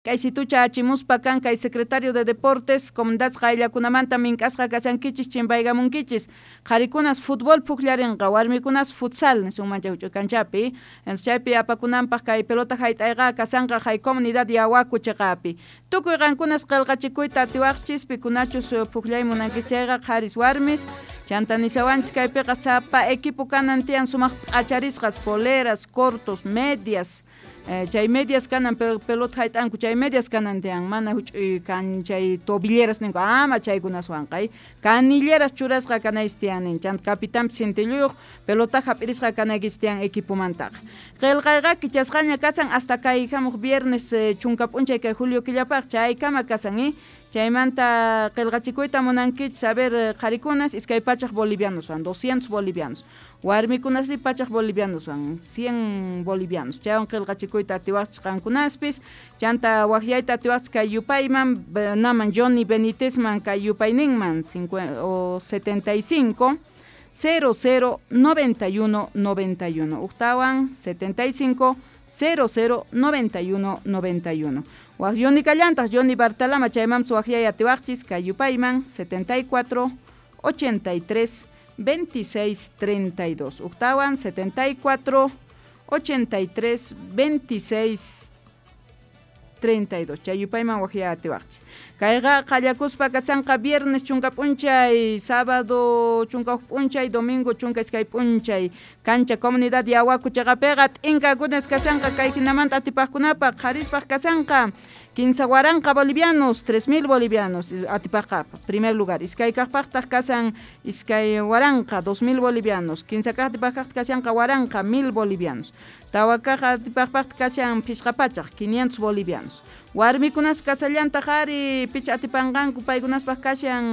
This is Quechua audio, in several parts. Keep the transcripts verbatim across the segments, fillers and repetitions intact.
K'aysitucha achimuspa kan kay secretario de deportes comunidades qayllakunamanta mink'asqa kashankichis chimpaykamunkichis qharikunas fútbol pukllarinqa warmikunas futsal nisunman chay kanchapi chaypi apakunanpaq kay pelota hayt'ayqa kasanqa hay comunidad Yawaku chiqapi tukuy qankunas qillqachikuyta atiwaqchis pikunachus pukllay munankichis chayqa qharis warmis chanta nishawanchis kaypiqa sapa equipo kanan tiyan sumaq p'acharisqas poleras cortos medias chay medias kanan pelota hayt'anku chay medias kanan tiyan mana huch'uy kan chay tobilleras ninku ama chaykunaswanqa canilleras churasqa kanaychis tiyan nin chanta capitanpis cintilluyuq pelota hap'irisqa kanaykichis tiyan equipomantaqa qillqayqa kichasqaña kasan hasta kay hamuq viernes chunka p'unchay kay julio killapaq chaykama kasan chaymanta qillqachikuyta munankichis a ver qharikunas iskay pachaq bolivianoswan doscientos bolivianos warmikunasri pachaq bolivianoswan cien bolivianos chaywan qillqachikuyta atiwaqchis qankunaspis chanta waqyayta atiwaqchis kay yupayman naman Johnny Benítezman kay yupayninman o setenta y cinco cero cero noventa y uno noventa y uno uqtawan setenta y cinco cero cero noventa y uno noventa y uno waq Johnny kallantaq Johnny Bartalama chaymanpis waqyay atiwaqchis kay yupayman setenta y cuatro ochenta y tres veintiséis treinta y dos uqtawan setenta y cuatro ochenta y tres veintiséis treinta y dos chay yupayman waqyay atiwaqchis kayqa qallakuspa kasanqa viernes chunka p'unchay sábado chunka huk p'unchay domingo chunka iskay p'unchay cancha comunidad Yawaku chiqapiqa t'inkakunas kasanqa kay hinamanta atipaqkunapaq qharispaq kasanqa kinsa waranqa bolivianos tres mil bolivianos atipaqqa primer lugar iskay kaqpaqtaq kasan iskay waranqa dos mil bolivianos kinsa kaq atipaqqa kashanqa waranqa mil bolivianos tawa kaq atipaqpaqtaq kashan phisqa pachaq quinientos bolivianos warmikunaspa kasallantaq ari picha atipanqanku paykunaspaq kashan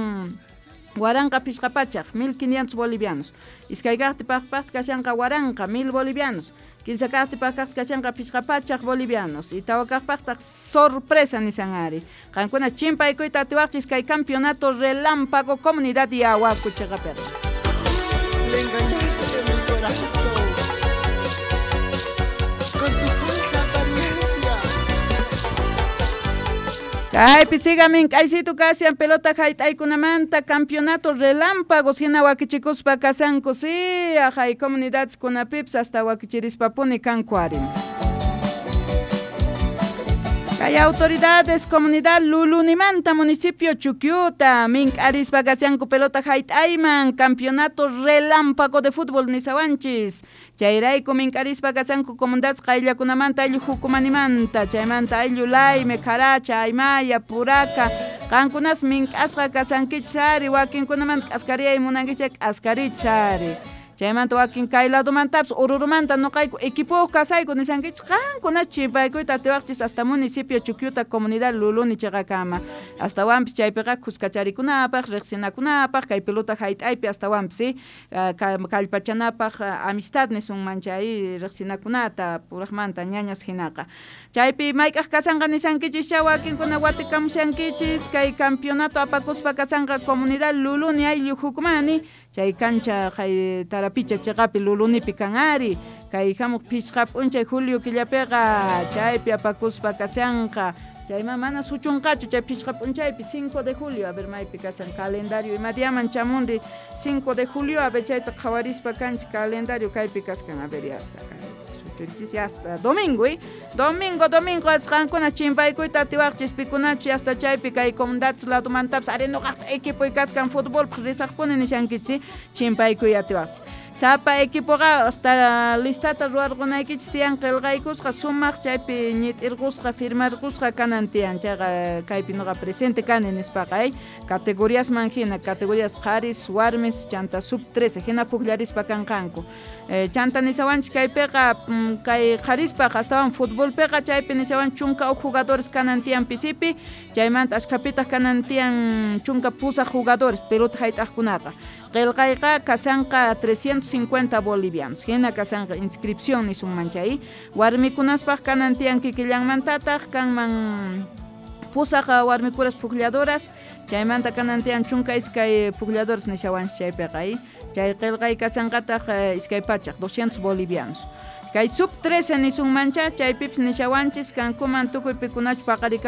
waranqa phisqa pachaq mil quinientos bolivianos iskay kaq atipaqpaqtaq kashanqa waranqa mil bolivianos kinsa kaq atipaqpaqtaq kashanqa phisqa pachaq bolivianos y tawa kaqpaqtaq sorpresa nisan ari qankuna chimpaykuyta atiwaqchis kay campeonato relámpago comunidad Yawaku chiqapiqa. Le engañaste mi corazón con tu falsa apariencia. Kaypi sigamin k'aysitu kashan pelota hayt'aykunamanta campeonato relámpago hina wakichikuspa kasanku si hay comunidades kunapipis hasta wakichirispapuni kanku ari. Kay autoridades comunidad Lulunimanta municipio Chuquiuta mink'arispa kashanku pelota hayt'ayman campeonato relámpago de fútbol nisawanchis chayrayku mink'arispa kashanku comunidades qayllakunamanta ayllu hukumanimanta chaymanta ayllu Layme Caracha Aymaya Puraka qankunas mink'asqa kasankichis ari wakinkunamanta k'askariyay munankichis k'askarichis ari chaymanta wakin kay ladomantapis Orurumanta noqayku equipo kasayku nisankichis qankunas chimpaykuyta atiwaqchis hasta municipio Chuquiuta comunidad Luluni chiqakama astawanpis chaypiqa kuskacharikunapaq riqsinakunapaq kay pelota hayt'aypi astawanpis kallpachanapaq amistad nisunman chay riqsinakunata puraqmanta ñañas hinaqa chaypi mayk'aq kasanqa nisankichis chay wakinkuna watikamushankichis kay campeonato apakuspa kasanqa comunidad Luluni ayllu hukumani chay cancha kay Tarapicha chiqapi Lulunipi kan ari kay hamuq phisqa p'unchay julio killapiqa chaypi apakuspa kashanqa chayman mana suchunqachu chay phisqa p'unchaypi cinco de julio a ver maypi kashan calendario ima diaman chamundi cinco de julio a ver chayta qhawarispa kanchik calendario kaypi kaskan a ver ya hasta suchunchis ya hasta domingo eh domingo domingo qankuna chimpaykuyta atiwaqchis pikunachu hasta chaypi kay comunidades ladomantapis ari nuqaqta equipoy kaskan futbolpaq risaqpuni nishankichis chimpaykuy atiwaqchis sapa equipoqa hasta listata ruwarqunaykichis tiyan qillqaykusqa sumaq chaypi ñit'irqusqa firmarqusqa kanan tiyan chayqa kaypi nuqa presente kani nispaqa ay categoriasman hina categorías qharis warmis chanta sub trece hina pukllarispa kanqanku chanta nisawanchis kaypiqa kay qharispaq astawan futbolpiqa chaypi nisawan chunka huk jugadores kanan tiyan pisipi chaymanta ashkhapitaq kanan tiyan chunka pusaq jugadores pelota hayt'aqkunaqa qillqayqa kasanqa trescientos cincuenta bolivianos hina kasanqa inscripción nisunman chay warmikunaspaq kanan tiyan kikillanmantataq kanman pusaq warmikuras puklladoras chaymanta kanan tiyan chunka iskay puklladoras nishawanchis chaypiqa chay qillqay kasanqataq iskay pachaq doscientos bolivianos Kay sub trece nisunmancha chaypipis nishawanchis kankuman tukuy pikunachu paqarikamunqa.